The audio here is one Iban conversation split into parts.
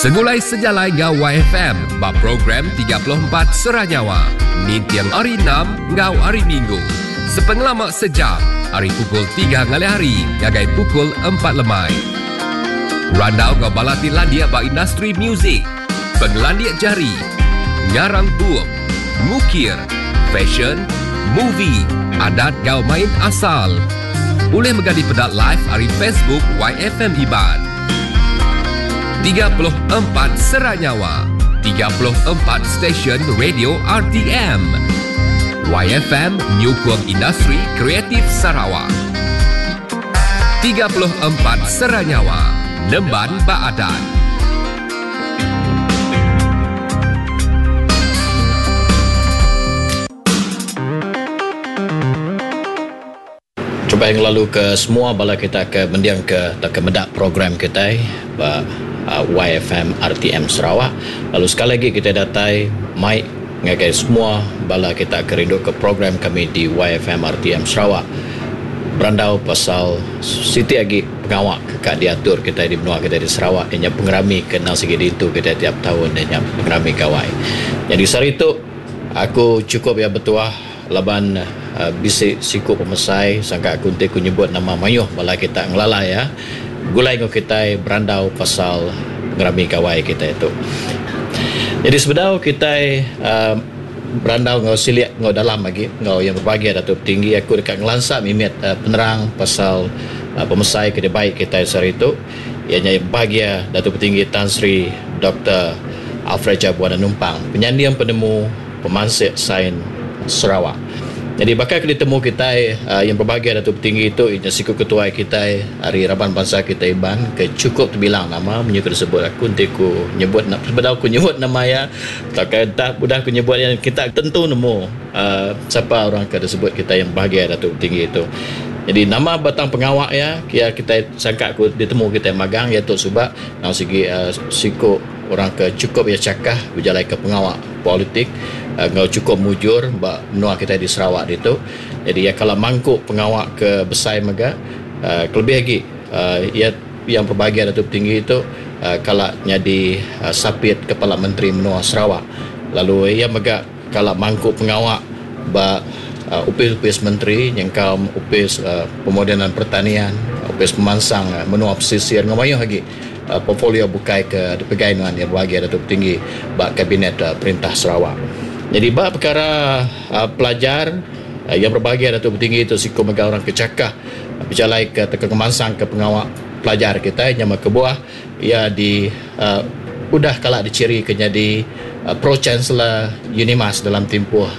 Segulai sejalai enggau YFM ba program 34 Sera Nyawa ninting Hari Enam enggau Hari Minggu sepengelama sejam ari pukul tiga ngalih hari ngagai pukul empat lemai. Randau enggau bala ti landik ba industri muzik, pengelandik jari, ngarang bup, ngukir, fashion, movie, adat enggau main asal. Ulih mega dipeda live ari Facebook YFM Iban. 34 Sera Nyawa, 34 stesen radio RTM. YFM nyukung industri kreatif Sarawak. 34 Sera Nyawa, nemban ba adat. Terubah ngelalu ke semua bala kita ke mending ke tauka meda program kitai ba YFM RTM Sarawak lalu sekali agi kitai datai mai ngagai semua bala kita ke rindu ke program kami di YFM RTM Sarawak berandau pasal siti agi pengawa ke ka diatur kitai di menua kitai di Sarawak iya nya pengerami ke endang sigi diintu kitai tiap taun iya nya pengerami Gawai. Nyadi sehari tu aku chukup iya betuah. Laban bisi siku pemesai sangka aku enti ku nyebut nama mayuh bala kita ngelala iya begulai enggau kitai berandau pasal pengerami gawai kitai tu. Nyadi sebedau kitai berandau enggau silik enggau dalam agi enggau yang berbahagia Datuk Tinggi aku deka ngelansa mimit penerang pasal pemesai ke dibai kitai sehari tu iya nya bahagia Datuk Tinggi Tan Sri Doktor Alfred Jabuan Numpang penyanding penemu Pemansik Sains Sarawak. Nyadi baka ke ditemu kitai yang berbahagia Datuk Petinggi tu iya nya siku ketuai kitai ari raban bansa kitai Iban ke chukup tebilang nama munyi ke disebut aku enti ku nyebut sebedau ku nyebut nama iya tauka entah udah ku nyebut iya kita tentu nemu uhh sapa orang ke disebut kitai yang berbahagia Datuk Petinggi tu. Nyadi nama batang pengawa iya kia kitai sangka ku ditemu kitai magang iya tu suba nang sigi uhh siku orang ke chukup iya chakah bejalaika pengawa. Politik enggau chukup mujur ba menua kitai di Sarawak ditu. Jadi iya kala mangku pengawa ke besai mega kelebih agi iya yang berbahagia Datuk Tinggi tu kala nyadi sapit Kepala Menteri menua Sarawak lalu iya mega kala mangku pengawa ba opis-opis menteri nyengkaum opis Pemodenan Pertanian, Opis Pemansang Menua Pesisir enggau mayuh agi. Portfolio bukai ke dipegai nuan iya bebahagia Datuk Tinggi ba Kabinet Perintah Sarawak. Nyadi ba pekara pelajar iya berbahagia Datuk Tinggi tu siku mega orang ke chakah bejalaika tauka ngemansangka pengawa pelajar kitai nya meh kebuah iya di udah kala dichirika nyadi Pro Chancellor Unimas dalam timpuh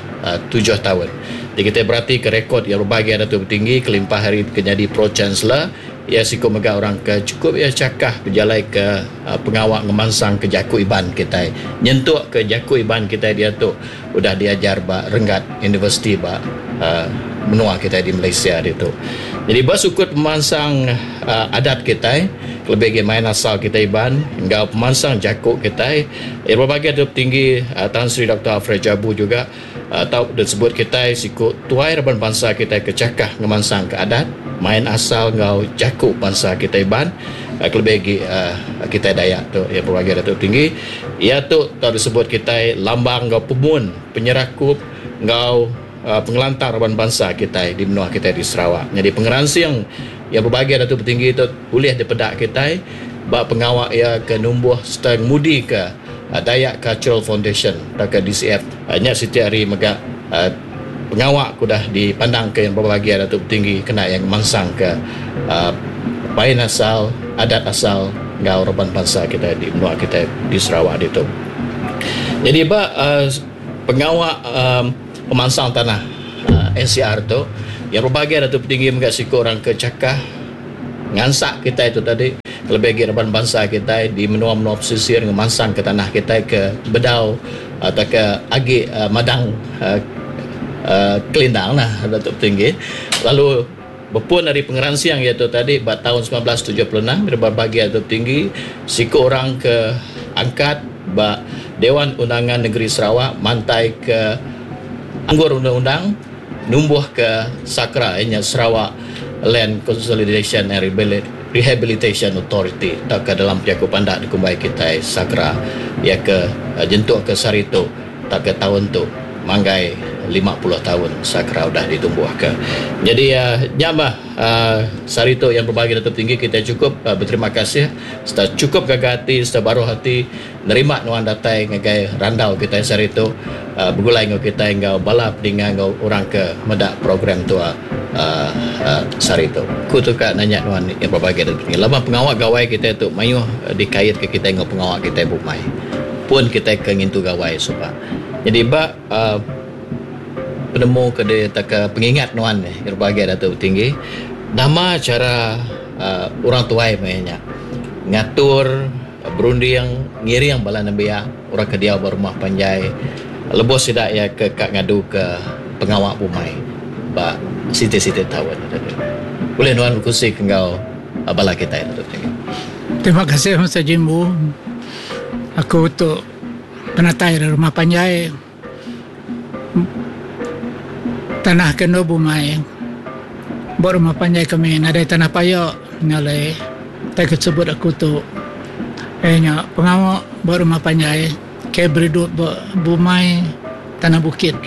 tujuh taun. Ti kitai beratika rekod iya berbahagia Datuk Tinggi kelimpah ari ke nyadi Pro Chancellor Iya siku mega orang ke chukup iya chakah bejalaika pengawa ngemansangka jaku Iban kitai nyentuk ke jaku Iban kitai diatu udah diajar ba renggat universiti ba menua kitai di Malaysia ditu. Nyadi ba sukut pemansang adat kitai kelebih agi main asal kitai Iban enggau pemansang jaku kitai iya berbagai tu tinggi Tan Sri Doktor Alfred Jabu juga Tau disebut kitai siku tuai raban bansa kitai ke chakah ngemansangka adat, main asal enggau jaku bansa kitai Iban kelebih agi kitai Dayak tu iya berbagi Datuk Tinggi. Iya tu tau disebut kitai lambang enggau pemun penyerakup enggau pengelantang raban bansa kitai di menua kitai di Sarawak. Nyadi pengeransing iya bebagi Datuk Tinggi tu ulih dipeda kitai ba pengawa iya ke numbuh sereta ngemudika Dayak Cultural Foundation tauka DCF nya siti ari mega pengawa ke udah dipandangka iya bebahagia Datuk Tinggi kena iya ngemansangka main asal, adat asal enggau raban bansa kitai di menua kitai di Sarawak ditu. Nyadi ba pengawa pemansang tanah NCR tu iya bebahagia Datuk Tinggi mega siku orang ke chakah Ngansak kitai tu tadi kelebih agi raban bansa kitai di menua-menua pesisir ngemansangka tanah kitai ke bedau tauka agi madang kelindang nah Datuk Tinggi. Lalu bepun ari pengeransing iya tu tadi ba taun 1976 raban bagi Datuk Tinggi siku orang ke angkat ba Dewan Undangan Negeri Sarawak mantaika anggur undang-undang numbuhka SAKRA iya nya Sarawak Land Consolidation and. Rehabilitation Authority tauka dalam jaku pandak dikumbai kitai SAGRA iya ke nyentuk ke sehari tu tauka taun tu manggai 50 taun SAGRA udah ditumbuhka. Nyadi nya mah sehari tu yang berbagi Datuk Tinggi kitai chukup beterima kasih sereta chukup gaga ati sereta baruh ati nerima nuan datai ngagai randau kitai sehari tu begulai enggau kitai enggau bala peninga enggau orang ke meda program tua sehari tu. Ku tu ka nanya nuan yang berbagi Datuk Tinggi laban pengawa gawai kitai tu mayuh dikaitka kitai enggau pengawa kitai bumai pun kitai ke ngintu gawai suba. Nyadi ba penemu ke tauka pengingat nuan yang berbagi Datuk Tinggi nama chara orang tuai maya nya ngatur Berunding ngiring bala nembiak orang ke diau ba rumah panjai lebuh sida iya ke ka ngaduka pengawa bumai ba siti-siti taun. Ulih nuan bekunsi ke enggau bala kitai tu tadi. Terima kasih Mister Jimbu. Aku tu penatai ari rumah panjai tanah ke endur bumai. Ba rumah panjai kami nadai tanah paya nya alai tai ke sebut aku tu iya nya pengawa ba rumah panjai ke beridup ba bumai tanah bukit.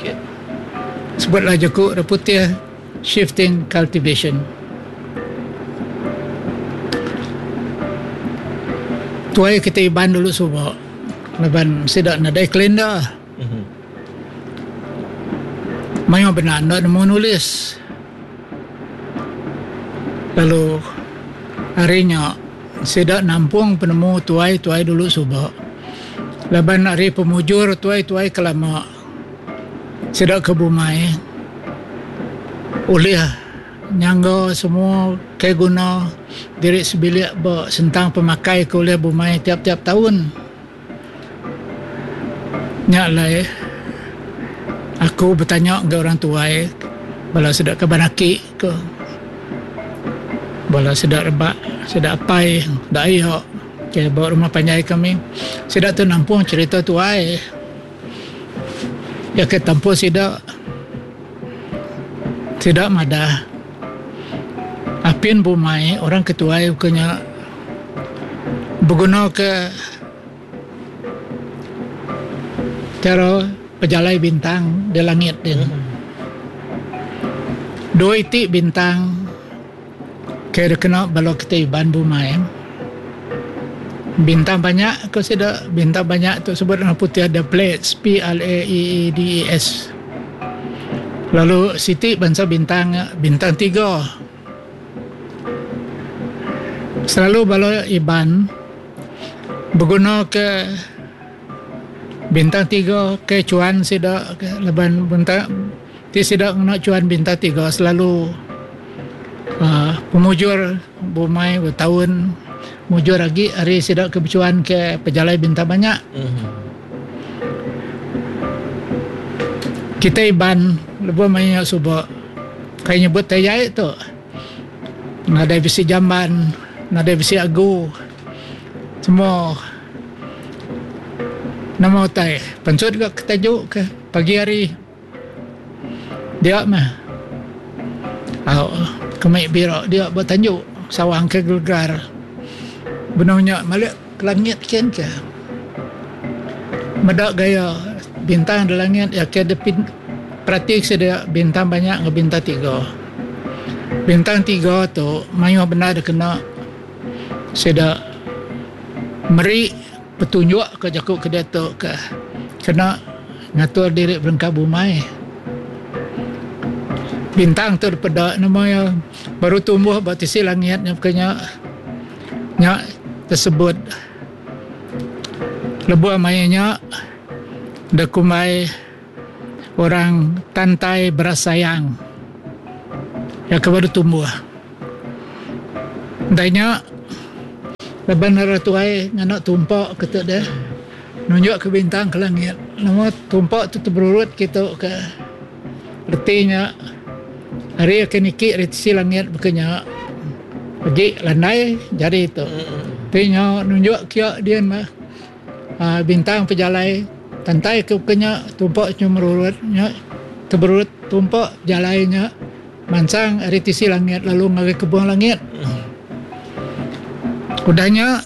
Sebut la jaku orang putih shifting cultivation. Tuai kitai Iban dulu suba laban sida nadai kalender. Mayuh bendar enda nemu nulis. Lalu ari nya sida nampung penemu tuai-tuai dulu suba laban ari pemujur tuai-tuai ke lama sida ke bumai ulih nyangga semua ke guna diri sebilik ba sentang pemakai ke ulih bumai tiap-tiap taun. Nya alai aku betanya enggau orang tuai bala sida kaban aki ke bala sida rebak sida apai sida ayo ke ba rumah panjai kami sida tu nampung cherita tuai ya ke tampung sida sida madah apin bumai orang ke tuai ke nya beguna ke Chara pejalai bintang di langit din. Dua iti bintang ke dikena bala kitai Iban bumai. Bintang banyak ko sida, bintang banyak tu sebut orang putih the Pleiades, P L A E E D E S. Lalu siti bansa bintang bintang tiga. Selalu bala Iban Beguna ke bintang tiga ke chuan sida ke laban bintang ti sida ngena chuan bintang tiga selalu uhh pemujur bumai betaun mujur agi ari sida ke bechuan ke pejalai bintang banyak. Kitai Iban lebuh maya suba kai nyebut tai jai tu nadai bisi jamban nadai bisi agu. Semua nama utai pansut ga ke taju ke pagi hari dia meh au kemi bira dia ba tanju sawang ke gelegar benung nya malik ke langit kin ke meda gaya bintang da langit iya ke perati sida bintang banyak enggau bintang tiga. Bintang tiga tu mayuh bendar dikena. Sida meri petunjuk ka jaku ke diatu ke kena ngatur diri berengkah bumai. Bintang tu dipeda nama iya baru tumbuh ba tisi langit nya baka nya nya tersebut lebuh maya nya da kumbai orang tantai berasayang iya ke baru tumbuh. Udah nya laban orang tuai ngena tumpa ke tu deh nunjuk ke bintang ke langit nama tumpa tu teberurut kitu ke reti nya hari ke niki ari tisi langit baka nya agi landai jari tu. Ti nya nunjuk kiya din mah uhh bintang pejalai tantai ke baka nya tumpa nyu merurut nya teberurut tumpa jalai nya. Mansang ari tisi langit lalu ngagai kebung langit. Udah nya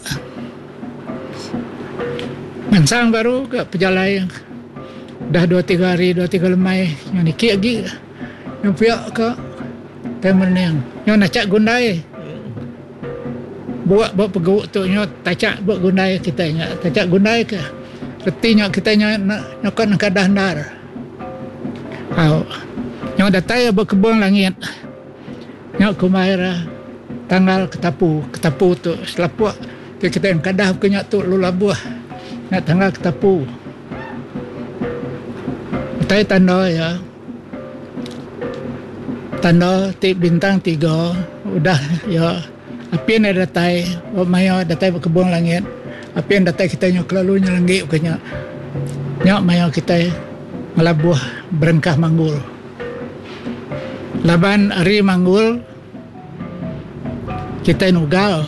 mansang baru ga pejalai dah dua tiga hari dua tiga lemai nyau niki agi nyau pia ka tai merening nyau nachak gundai buak ba pegu tu nyau tachak ba gundai kitai nya tachak gundai ke reti nya kitai nya nyukat nengkadah endar. Au nyau datai ba kebung langit. Nya kumbai ra tanggal ketapu. Ketapu tu selapuk ti kitai engkadah ke nya tu lalu labuh nya tanggal ketapu. Utai tanda iya tanda ti bintang tiga udah iya apin iya datai ba maya datai ba kebung langit apin datai kitai nyau kelalu nyelenggi ke nya. Nya maya kitai ngelabuh berengkah manggul. Laban ari manggul kitai nugal.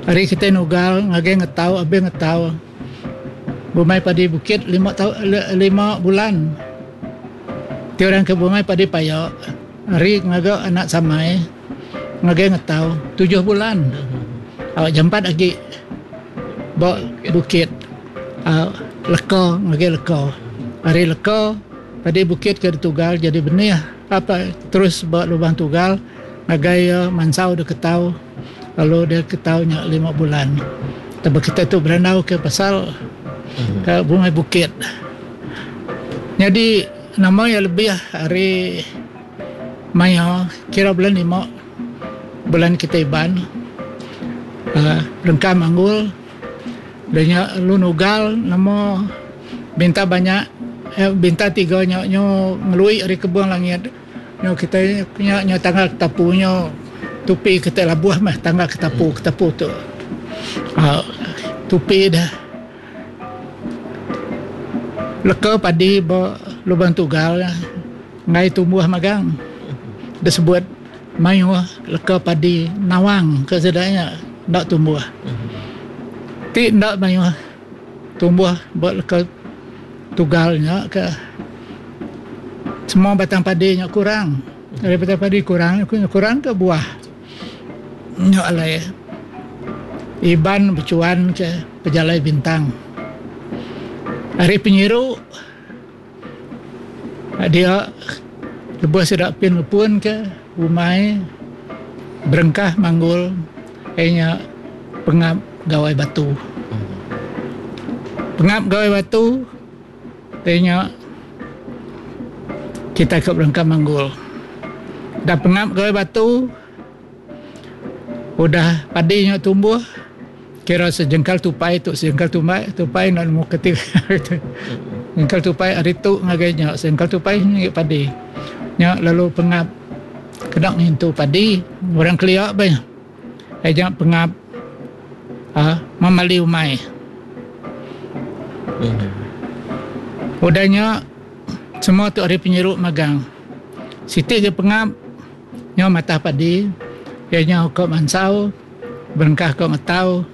Ari kitai nugal ngagai ngetau abih ngetau bumai padi bukit lima tau lima bulan. Ti orang ke bumai padi paya ari ngaga anak samai ngagai ngetau tujuh bulan. Au jampat agi ba bukit au leka ngagai leka. Ari leka Padi bukit ke ditugal jadi benih apa terus ba lubang tugal ngagai iya mansau dek ketau lalu dek ketau nya lima bulan. Taba kitai tu berandau ke pasal ke bungai bukit. Nyadi nama iya lebih ari maya kira bulan lima bulan kitai Iban uhh rengka manggul da nya lalu nugal nama Binta banyak binta tiga nya nyu ngelui ari kebung langit nyu kitai nya nyu tangga ketapu nyu tupi kitai labuh meh tangga ketapu ketapu tu uhh tupi deh leka padi ba lubang tugal enggai tumbuh magang disebut mayuh leka padi nawang ke sida nya enda tumbuh ti enda mayuh. Tumbuh ba leka tugal nya ke semua batang padi nya kurang. Ari batang padi kurang kurang ke buah nya alai Iban bechuan ke pejalai bintang. Ari penyiru dia lebuh sida pin ngepun ke umai berengkah manggul iya nya pengap Gawai Batu. Pengap Gawai Batu iya nya kitai ke berengkah manggul. Da pengap Gawai Batu Udah padi nya tumbuh kira sejengkal tupai tu sejengkal tumbai tupai enda nemu keti jengkal tupai ari tu ngagai nya sejengkal tupai ngi padi. Nya lalu pengap kena ngintu padi orang kelia bah ai nya pengap uhh memali umai. Udah nya semua tu ari penyiru magang. Siti ga pengap. Nyau matah padi, iya nyau ka mansau, berengkah ka ngetau,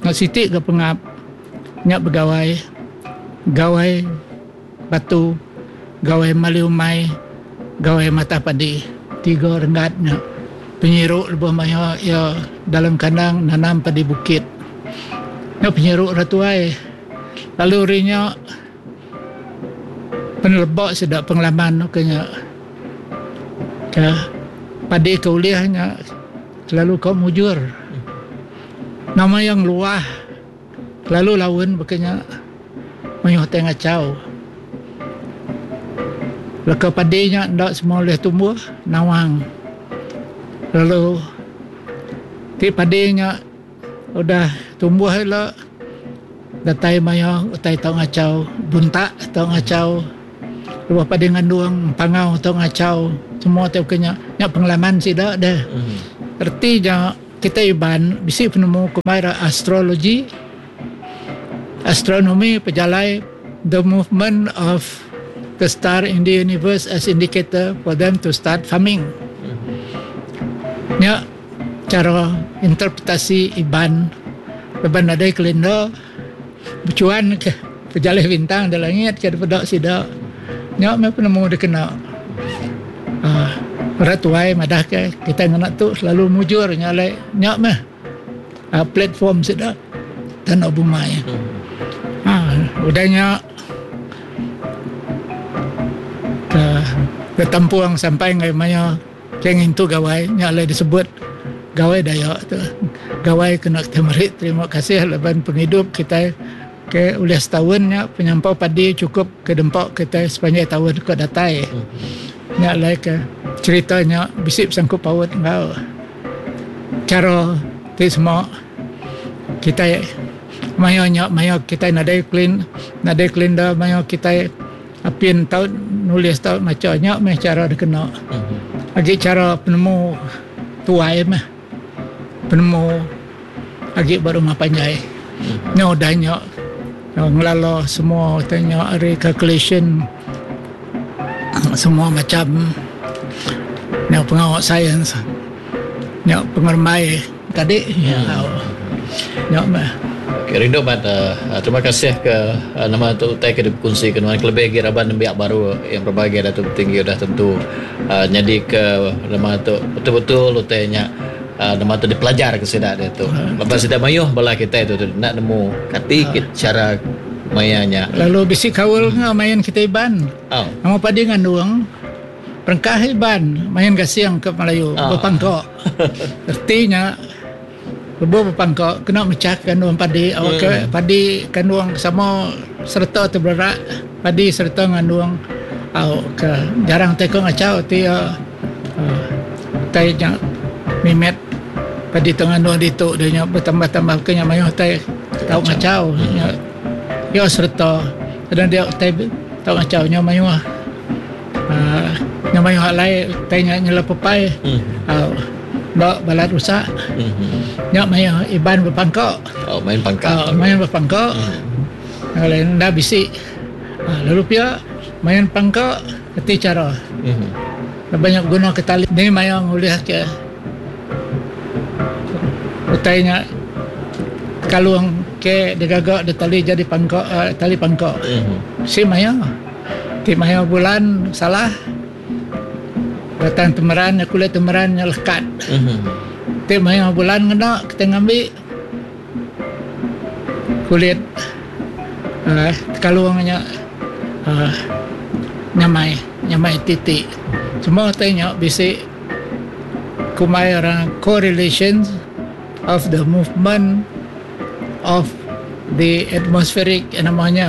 enggau siti ga pengap nya begawai, gawai batu, gawai mali umai, gawai matah padi. Tiga renggat nya penyiru lebuh maya iya dalam kandang nanam padi bukit. Nya penyiru ra tuai. Lalu ari nya Peneleba sida pengalaman ke nya ke padi ke ulih nya selalu ka mujur. Nama iya ngeluah kelalu laun baka nya mayuh tai ngachau. Leka padi nya enda semua ulih tumbuh nawang lalu ti padi nya Udah tumbuh ila datai maya utai tau ngachau buntak tau ngachau lebuh padi ngandung pangau tau ngachau semua ti baka nya nya pengalaman sida deh. Reti nya kitai Iban bisi penemu kumbai ra astrology astronomy pejalai the movement of the star in the universe as indicator for them to start farming. Nya Chara interpretasi Iban laban nadai kalender bechuan ke pejalih bintang da langit ke dipeda sida nya meh penemu dikena uhh orang tuai madah ke kitai ngena tu selalu mujur nya alai nya meh. Platform sida tanda bumai. Ha udah nya ke betampung sampai ngagai maya ke ngintu gawai nya alai disebut Gawai Dayak tu. Gawai kena kitai meri terima kasih laban pengidup kitai ke ulih setaun nya penyampau padi chukup ke dempa kitai sepanjai taun ke datai. Nya alai ke cherita nya bisi besangkut paut enggau chara ti sema kitai maya nya maya kitai nadai klin nadai kalendar maya kitai apin tau nulis tau macha nya meh chara dikena. Agi chara penemu tuai meh penemu agi ba rumah panjai. Nya udah nya ngelala semua utai nya ari calculation semua macam nya pengawa sains nya pengerembai tadi nya meh. Okay, rindu mat terima kasih ke nama tu utai ke dikongsi ke nuan kelebih agi raban nembiak baru yang berbahagia Datuk Patinggi udah tentu nyadi ke nama tu betul-betul utai nya Nama tu dipelajar ke sida diatu. Laban sida mayuh bala kitai tu enda nemu kati ke chara maya nya. Lalu bisi kaul enggau main kitai Iban. Nama padi ngandung perengkah Iban main gasing ke Melayu bepangka. Reti nya lebuh bepangka kena mechah kandung padi awakka padi kandung sama sereta tebererak padi sereta ngandung au ke jarang tai ko ngachau ti iya. Utai nya mimit padi tu ngandung ditu dia nya betambah-tambah ke nya mayuh utai tau ngachau nya iya sereta kadang dia utai tau ngachau nya mayuh uhh nya mayuh alai utai nya nyelap pepai au enda balat rusak nya mayuh Iban bepangka au main bepangka enda bisi lalu pia main pangka. Reti chara laban nya beguna ke tali ni maya ngulih ke utai nya kalung ke digaga da tali jadi pangka uhh tali pangka. Bisi maya ti maya bulan salah batang temeran nya kulit temeran nya lekat. Ti maya bulan ngena kitai ngambi kulit uhh tekalung nya uhh nyamai nyamai ti ti semua utai nya bisi kumbai orang correlations of the movement of the atmospheric nama nya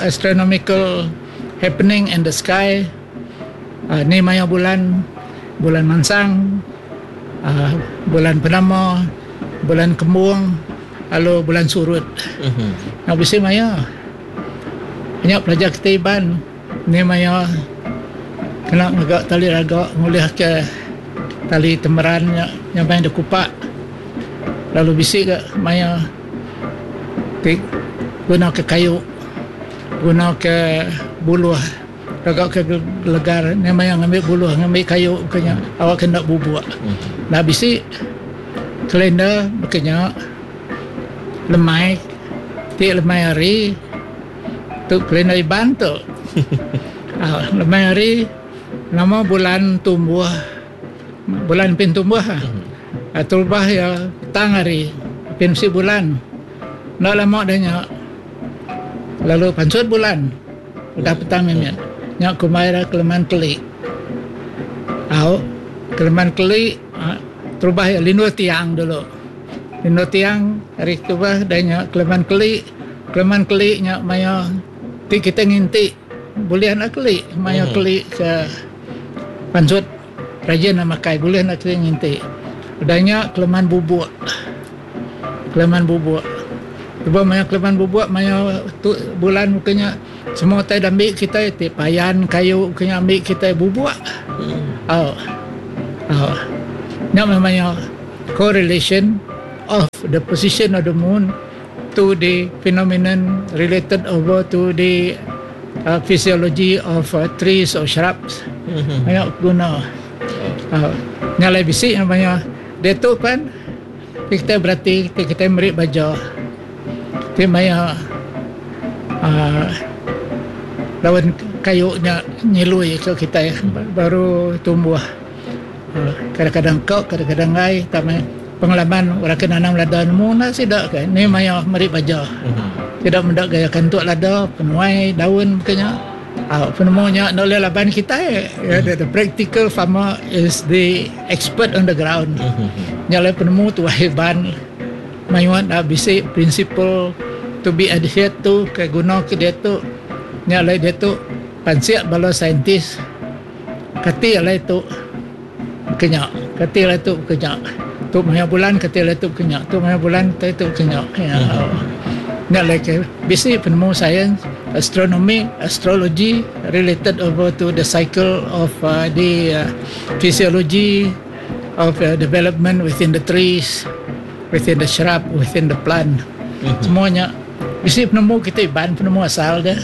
astronomical happening in the sky uhh ni maya bulan bulan mansang. Bulan penama, bulan kembung lalu bulan surut. Nya bisi maya. Nya pelajar kitai Iban ni maya kena ngaga tali raga ngulihka tali temeran nya nyamai deh kupak lalu bisi ga maya ti guna ke kayu guna ke buluh. Gaga ke gelegar nya maya ngambi buluh ngambi kayu ke nya awak ke enda bubuk. Enda bisi kalender baka nya lemai ti lemai hari tu kalender Iban tu. Aaa lemai hari nama bulan tumbuh bulan pin tumbuh ah terubah iya petang hari pin bisi bulan. Enda lama dah nya lalu pansut bulan. Udah petang mimit. Nya kumbai ira keleman keli. Au, keleman keli terubah iya lindur tiang dulu. Lindur tiang ari terubah udah nya keleman keli. Keleman keli nya maya ti kitai nginti bulih enda keli maya keli ke pansut rajin ne makai bulih enda keli nginti. Udah nya keleman bubuk. Keleman bubuk. Lebuh maya keleman bubuk maya tu bulan buka nya semua utai da ambi kitai ti payan kayu buka nya ambi kitai bubuk. Au. Au. Nya meh maya correlation of the position of the moon to the phenomenon related over to the uh, physiology of uh, trees or shrubs. Maya guna. Au. Nya alai bisi maya diatu pan Ti kitai berati ti kitai meri baja ti maya uhh daun kayu nya nyilui ka kitai baru tumbuh uhh kadang-kadang ka kadang-kadang enggai tang meh. Pengalaman orang ke nanam lada nemu enda sida ke ni maya meri baja. Sida meda gaya kantuk lada, penuai daun baka nya. Au penemu nya enda ulih laban kitai. The practical farmer is the expert on the ground. Nya alai penemu tuai Iban mayuh enda bisi principle to be adhered to ke guna ke diatu. Nya alai diatu pansik bala saintis kati alai tu. Baka nya, kati alai tu baka nya. Tu maya bulan kati alai tu baka nya. Tu maya bulan kati tu baka nya. Nya alai ke bisi penemu sains, astronomi, astrology related over to the cycle of the physiology of development within the trees, within the shrub, within the plant. Semua nya bisi penemu kitai Iban penemu asal deh.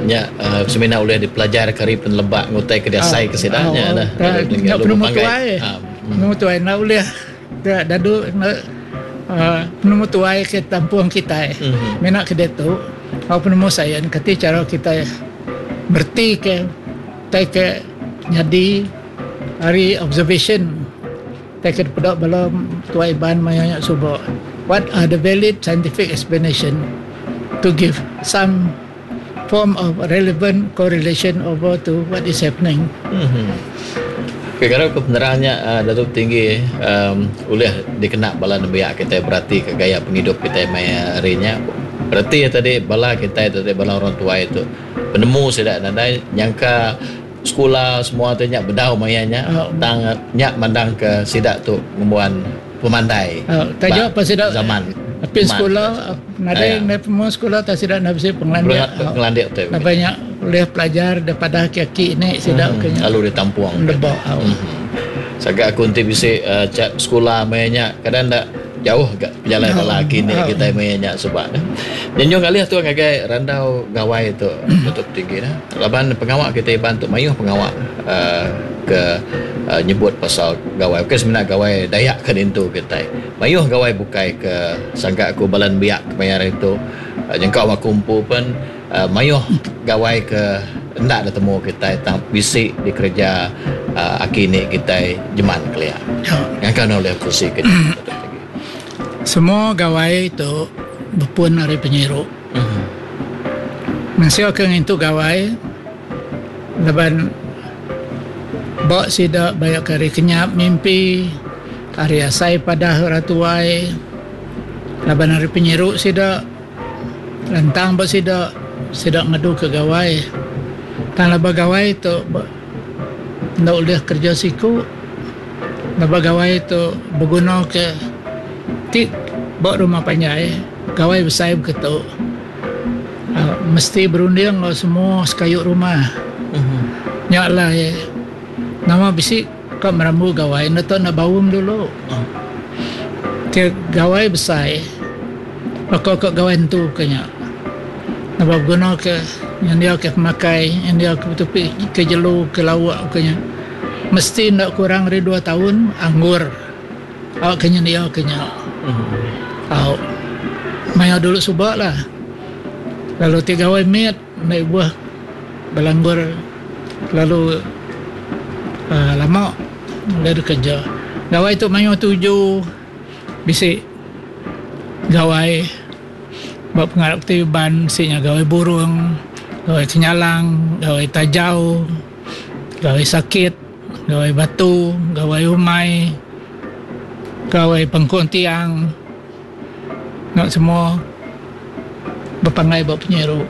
Nya semina ulih dipelajar ke ari peneleba ngutai ke diasai ke sida nya dah. Nya penemu tuai. Penemu tuai enda ulih dadu penemu tuai ke tampung kitai. Mina ke diatu au penemu sains kati chara kitai mereti ke utai ke nyadi ari observation. Utai ke dipeda bala tuai Iban maya nya suba, what are the valid scientific explanation to give some form of relevant correlation over to what is happening. Ke ngarap ke penerang nya Datuk Tinggi ulih dikena bala nembiak kitai berati ke gaya pengidup kitai maya hari nya. Reti iya tadi bala kitai tadi bala orang tuai tu penemu sida nadai nyangka Sekula semua tu nya bedau maya nya tang nya mandang ke sida tu ngembuan pemandai ba zaman. Apin sekula nadai ndai penemu sekula tang sida enda bisi pengelandik. Pengelandik tu. Laban nya ulih pelajar daripada aki aki ni sida ke nya. Lalu ditampung. Deba. Saga aku enti bisi sekula maya nya kadang enda jauh ga pejalai bala aki indi kitai maya nya suba. Nyenjung alih tu ngagai randau gawai tu Datuk Tinggi ne. Laban pengawa kitai Iban tu mayuh pengawa uhh ke nyebut pasal gawai ukai semina gawai Dayak ke diintu kitai. Mayuh gawai bukai ke sangka aku bala nembiak kemaya hari tu nyengkaum aku empu pen uhh mayuh gawai ke enda ditemu kitai tang bisi dikereja uhh aki ini kitai jeman kelia. Ngangka ne ulih kursi ke agi. Semua gawai tu bepun ari penyiru. Mensia ke ngintu gawai laban ba sida bayak ke ari kenyap mimpi, ari asai padah orang tuai laban ari penyiru sida lantang ba sida, sida ngadu ke gawai. Tang laban gawai tu enda ulih kereja siku laban gawai tu beguna ke ti ba rumah panjai. Gawai besai beketu mesti berunding enggau semua sekayu rumah. Nya alai nama bisi ka merambu gawai enda tau enda baum dulu. Ti gawai besai baka ka gawai entu ka nya. Naba beguna ke nyendia ke pemakai nyendia ke betupi ke jelu ke lauk ka nya mesti enda kurang ari dua taun anggur. Au ke nyendia ke nya. Au. Maya dulu suba lah. Lalu ti gawai mit enda ibuh belanggur kelalu uhh lama ulih dikereja. Gawai tu mayuh tuju bisi gawai ba pengarap ti Iban bisi nya gawai burung, gawai kenyalang, gawai tajau, gawai sakit. Gawai batu, gawai umai, gawai pengkung tiang nya semua bepanggai ba penyiru.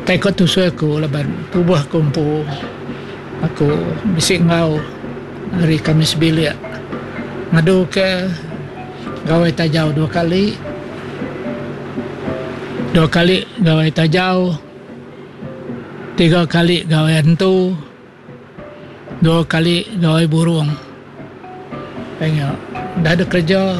Tai ko tusui aku laban tubuh aku empu aku bisi enggau ari kami sebilik ngadu ke gawai tajau dua kali, dua kali gawai tajau, tiga kali gawai antu. Dua kali gawai burung. Nya udah deh kereja.